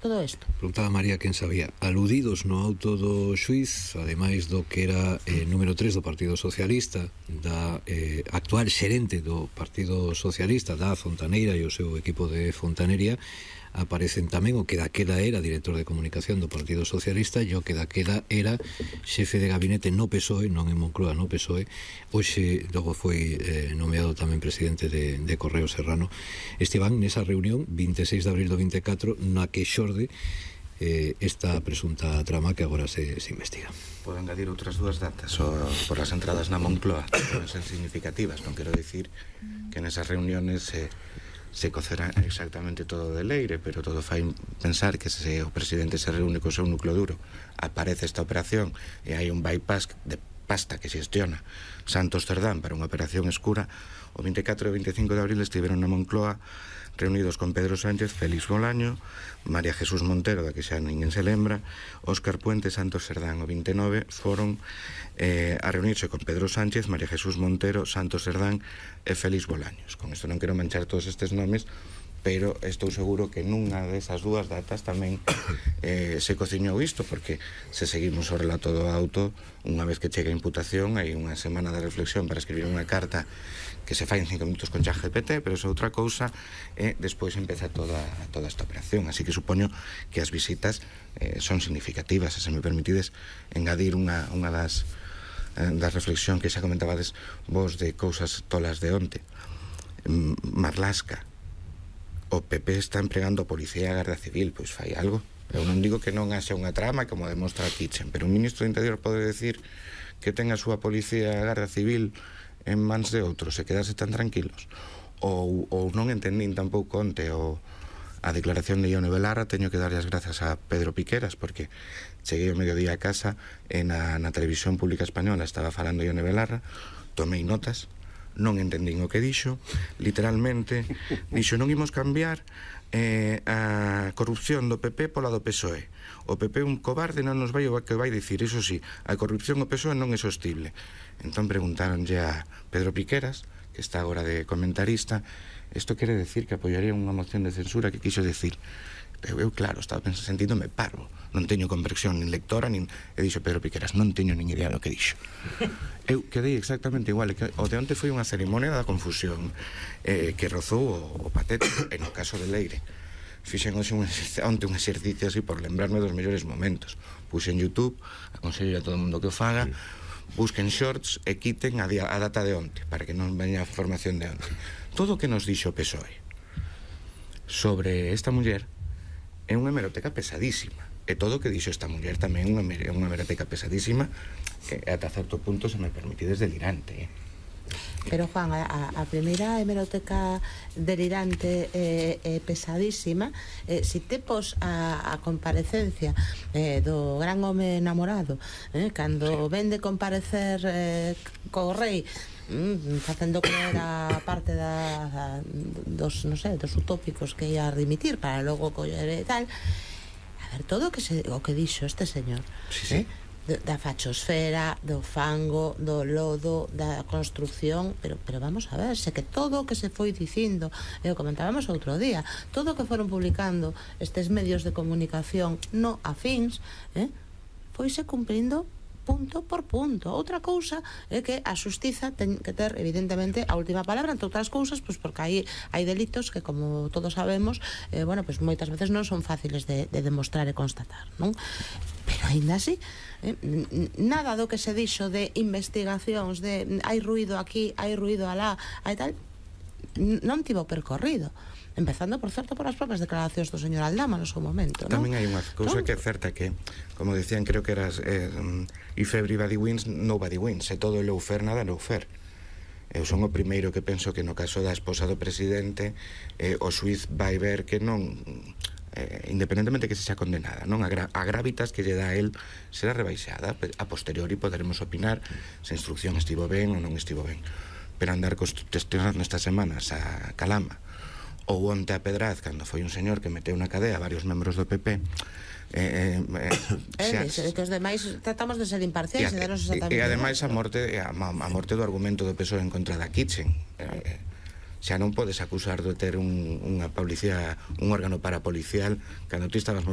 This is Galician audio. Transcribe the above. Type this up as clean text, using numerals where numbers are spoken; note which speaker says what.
Speaker 1: todo isto?
Speaker 2: Preguntaba María quen sabía. Aludidos no auto do xuiz, ademais do que era número 3 do Partido Socialista, da actual xerente do Partido Socialista, da Fontaneira e o seu equipo de fontanería, aparecen tamén o que daquela era director de comunicación do Partido Socialista e o que daquela era xefe de gabinete no PSOE, non en Moncloa, no PSOE. Hoxe logo foi nomeado tamén presidente de Correo Serrano. Esteban nesa reunión 26 de abril do 24 na que xorde esta presunta trama que agora se investiga.
Speaker 3: Podo engadir outras dúas datas por as entradas na Moncloa, poden ser significativas. Non quero dicir que nesas reuniones se cocerá exactamente todo de leire, pero todo fai pensar que se o presidente se reúne co seu núcleo duro, aparece esta operación e hai un bypass de pasta que xestiona Santos Cerdán para unha operación escura. O 24 e 25 de abril estiveron na Moncloa reunidos con Pedro Sánchez, Félix Bolaño, María Jesús Montero, da que xa ninguén se lembra, Óscar Puente, Santos Cerdán. O 29 foron a reunirse con Pedro Sánchez, María Jesús Montero, Santos Cerdán e Félix Bolaños. Con isto non quero manchar todos estes nomes, pero estou seguro que nunha desas dúas datas tamén se cociñou isto, porque se seguimos o relato do auto, unha vez que chega a imputación hai unha semana de reflexión para escribir unha carta que se fai en 5 minutos con ChatGPT, pero é outra cousa, e despois empeza toda esta operación. Así que supoño que as visitas son significativas. Se me permitides engadir unha das reflexión que xa comentabades vos de cousas tolas de onte. Marlaska, o PP está empregando a policía e a Garda Civil, pois fai algo. Eu non digo que non haxa unha trama como demostra Kitchen, pero un ministro do Interior pode decir que ten a súa policía e a Garda Civil en mans de outros e quedarse tan tranquilos. Ou non entendín tampouco onte a declaración de Ione Belarra. Teño que darlle as grazas a Pedro Piqueras, porque cheguei ao mediodía a casa e na televisión pública española estaba falando Ione Belarra, tomei notas, non entendín o que dixo, literalmente dixo: non imos cambiar a corrupción do PP pola do PSOE. O PP é un cobarde, non nos vai o que vai dicir. Iso sí, a corrupción do PSOE non é sostible. Entón preguntaronlle a Pedro Piqueras, que está agora de comentarista, isto quere decir que apoiaría unha moción de censura. Que quiso decir? Eu claro, estaba sentíndome parvo, non teño comprensión nin lectora nin... E dixo Pedro Piqueras: non teño nin idea do que dixo. Eu quedei exactamente igual. O de onte foi unha cerimonia da confusión que rozou o patético. E no caso de Leire fixen onte un exercicio así por lembrarme dos mellores momentos. Puse en YouTube, aconsello a todo o mundo que o faga, busquen shorts e quiten a data de onte, para que non veña a formación de onte. Todo o que nos dixo o PSOE sobre esta muller é unha hemeroteca pesadísima, e todo o que dixo esta muller tamén é unha hemeroteca pesadísima, que ata certo punto, se me permitides, delirante.
Speaker 1: Pero Juan, a primeira hemeroteca delirante e pesadísima, se te pos a comparecencia do gran home namorado, cando ven de comparecer co rei, facendo creer a parte dos utópicos que ia dimitir para logo coller e tal. A ver, todo o que dixo este señor,
Speaker 3: sí.
Speaker 1: Da fachosfera, do fango, do lodo, da construcción, pero vamos a ver, se que todo o que se foi dicindo, e o comentábamos outro día, todo o que foron publicando estes medios de comunicación no afíns, foise cumprindo punto por punto. Outra cousa é que a xustiza ten que ter, evidentemente, a última palabra, entre outras cousas, pois porque hai delitos que, como todos sabemos, pois moitas veces non son fáciles de demostrar e constatar, non? Pero aínda así, nada do que se dixo de investigacións, de hai ruído aquí, hai ruído alá, hai tal, non tivo percorrido. Empezando, por certo, por as propias declaracións do señor Aldama no seu momento, non?
Speaker 3: Tamén hai unha cousa que é certa, que, como decían, creo que eras if everybody wins, nobody wins. Se todo é lawfare, nada lawfare. Eu son o primeiro que penso que no caso da esposa do presidente o xuiz vai ver que non, independentemente que se xa condenada, non, a gravitas que lle dá a él será rebaixada. A posteriori poderemos opinar se a instrucción estivo ben ou non estivo ben, pero andar cuestionando estas semanas a Calama ou onte a Pedraz, cando foi un señor que meteu na cadea varios membros do PP,
Speaker 1: que os demais tratamos de ser imparciais
Speaker 3: e ademais a morte do argumento do PSOE en contra da Kitchen. Xa non podes acusar de ter unha policía, un órgano parapolicial, cando ti estabas